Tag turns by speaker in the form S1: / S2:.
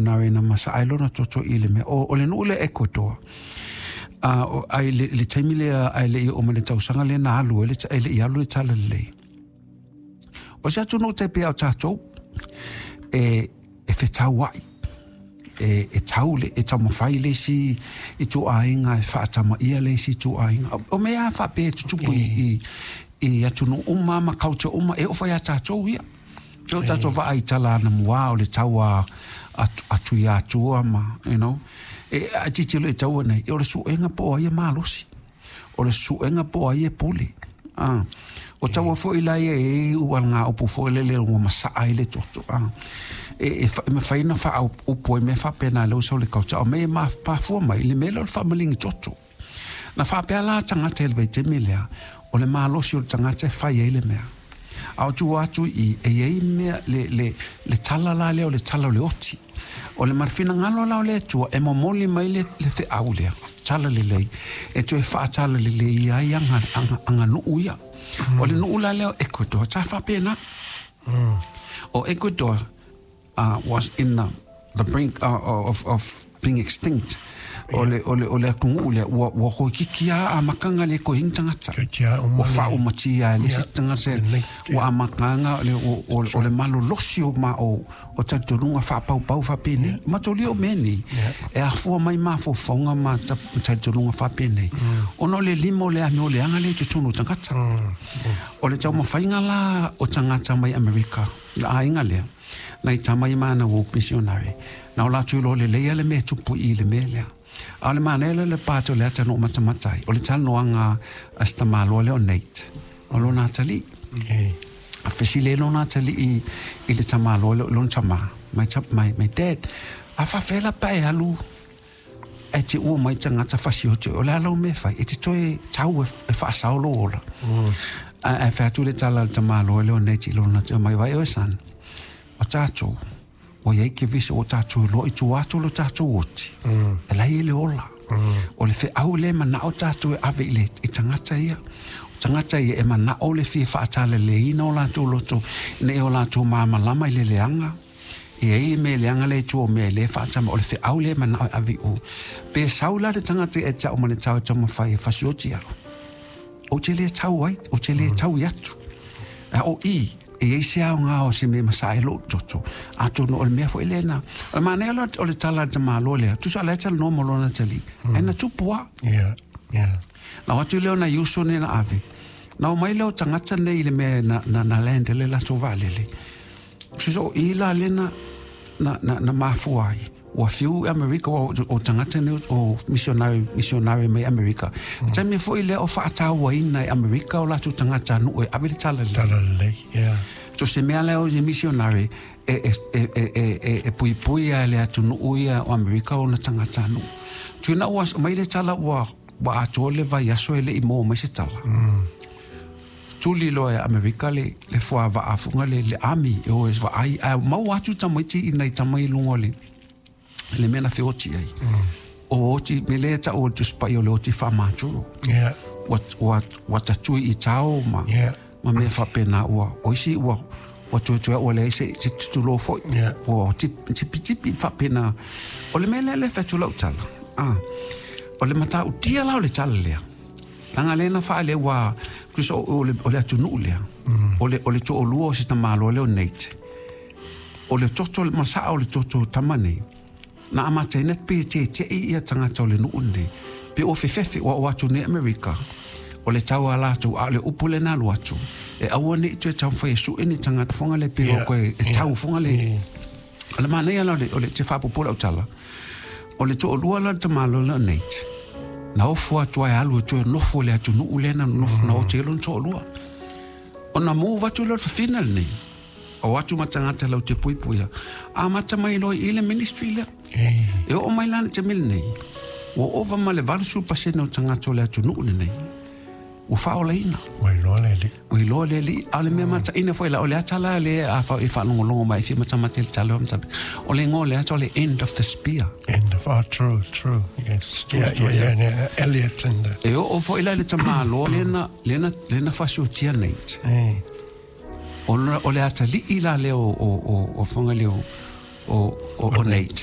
S1: missionary na masa'a ai lona toto i le mea. O le nuu lea Ecuador, ai le taimi lea ae le'i oo mai le tausaga lea na alu ai le e le'i alu le talalelei. O se atunuu tai pei a o tatou, e fetaua'i, e tau le, e taumafai le isi ituaiga e faatama'ia le isi ituaiga. O mea lava faapea e tutupu i atunuu uma ma culture uma, e oo foi ia tatou ia. So tatou vaai i tala anamua o le tau a Tuiatua ma, you know, e a tilotilo i taua nei, o le suega po o ai e malosi, o le suega po o ai e pule. Ah, o taua foi la ia e i ualagaupu foi lele ua masaa ai le toto. Ah, e mafai ona faaupu ai mea faapena i le uso o le culture, o mea e mafua mai i le mea lea o le faamaligi toto. Na faapea la tagata i le vaitaimi lea, o le malosi o le tagata e fai ai le mea. A o tua atu i i, e i ai mea, le, le, le tala la lea o le tala o le oti. O le finagalo la o le Atua e momoli mai le, le feau lea, tala lelei, e toe faatala lelei ai aga, aga, aganuu ia. O le nuu la lea o Ecuador, sa faapena. O Ecuador was in the brink of being extinct. O le atunuu lea, ua toeitiiti lava amataga le toe i ai ni tagata. Ua faaumatia e le isi tagata, ua amataga o le malolosi o ma o talitonuga faapaupau faapenei. Mataulia o mea nei, e afua mai mafaufauga ma talitonuga faapenei, ona o le lima o le amio leaga lea i totonu o tagata. O le taumafaiga la o tagata mai Amerika, le aiga lea, nai tama ia ma ana uo misionare, na o latou iloa lelei lava le mea e tupu i i le mea lea. A o le manaia lea o le pa atu o le ata na ou matamata ai, o le talanoaga a si tamaloa lea o Nate, o lona atalii. A fesili ai lona atalii i le tamaloa lea, lona tama, my dad, a faafefea la pe a e alu ae te ua mai tagata fasioti, o le a lau mea e fai? E te toe tau e faasao lou ola. Ae fai atu le tala a le tamaloa lea o Nate i lona, mai vai oe son, o tatou, ua i ai kevesi ua tatou iloa i tua atu o lo tatou oti, e la e i ai le ola. O le feau lea e manao tatou e ave i le i tagata ia. O tagata ia e manao le fia faatalaleina o latou loto ina ia o latou malamalama i le leaga, e i ai le mea leaga lea i tua o mea e le faatama, o le feau lea e manao e ave i o. Pe sau la le tagata ia te au ma le tau e taumafai e fasioti au, ou te le tau ai, ou te le tau i atu. A o i, e i ai se aoga o se mea masaa ai lou toto, atonu o le mea foi lena. O le manaia la o le tala a le tamaloa lea, tusa o la e talanoa ma lona atalii, ae na tupu lava. Na o atu lea o nai uso nei na ave, na omai lea o tagata nei i le mea na land ai le latou vaalele, tusa o i la lea na mafua ai. Ua fiu i Amerika, o tagata nei o misionari mai Amerika. Taimi foi lea o faatauaina e Amerika o latou tagatanuu e ave le talalelei.
S2: Talalelei, yeah.
S1: So se mea lea o se misionari e puipui a e le atunuu ia o Amerika ona tagatanuu. Tuina ua mai le tala ua atoa le vaiaso e le i maua mai se tala. Tuli loa e Amerika le fuavaa fuga le army e o e vaai, ae maua atu tamaiti i nai tama i luga o le mea na feoti ai. O oti, me lea tau o le Tusi Paia o le oti faamaturo. Ua tatui i tao ma, ma mea faapena ua, o isi ua, ua tuetoe ua leai se tutulo foi. Ua tipitipi faapena. O le mea lea le fai atu lau tala. Ah, o le matautia la o le tala lea. Leaga lea na faaleu ua, tusa o le atunuu lea, o le toalua o si tamaloa lea o Nate, o le toto, ma saa o le toto o tama nei, na amataina pe tete'i ia tagata o le nuu lenei, pe ua fefefe, ua oo atu nei Amerika, o le tau a latou, a o le upu lea na alu atu, e aua ne i toe taumafai e sue ni tagata foga le pe ua koe e tau foga le. O le manaia la o le te faapupu lau tala, o le toalua la le tamaloa lea o Nate, na ofo atu ai alu e toe nofo i le atunuu lea na nofo na ote ai lona toalua. Ona move atu lea o le fafine lenei, o atu ma tagata lau te puipuia, amata mai loa i le ministry lea. E oo mai la i le taimi lenei, ua ova ma le 80% o tagata o le atunuu lenei, ua faaolaina.
S2: Ua iloa le Alii.
S1: Ua iloa le Alii. A o le mea mataina foi la, o le ata la lea a e faalogologo mai e fia matamata i le tala o matata, o le igoa o le ata o le End of the Spear.
S2: End of, oh, true, true, yes.
S1: True
S2: Yeah,
S1: story,
S2: yeah, yeah, yeah, Elliot and the...
S1: E oo foi la i le tamaloa lea na fasiotia Nate. O le atalii la lea o Fugaleo o Nate.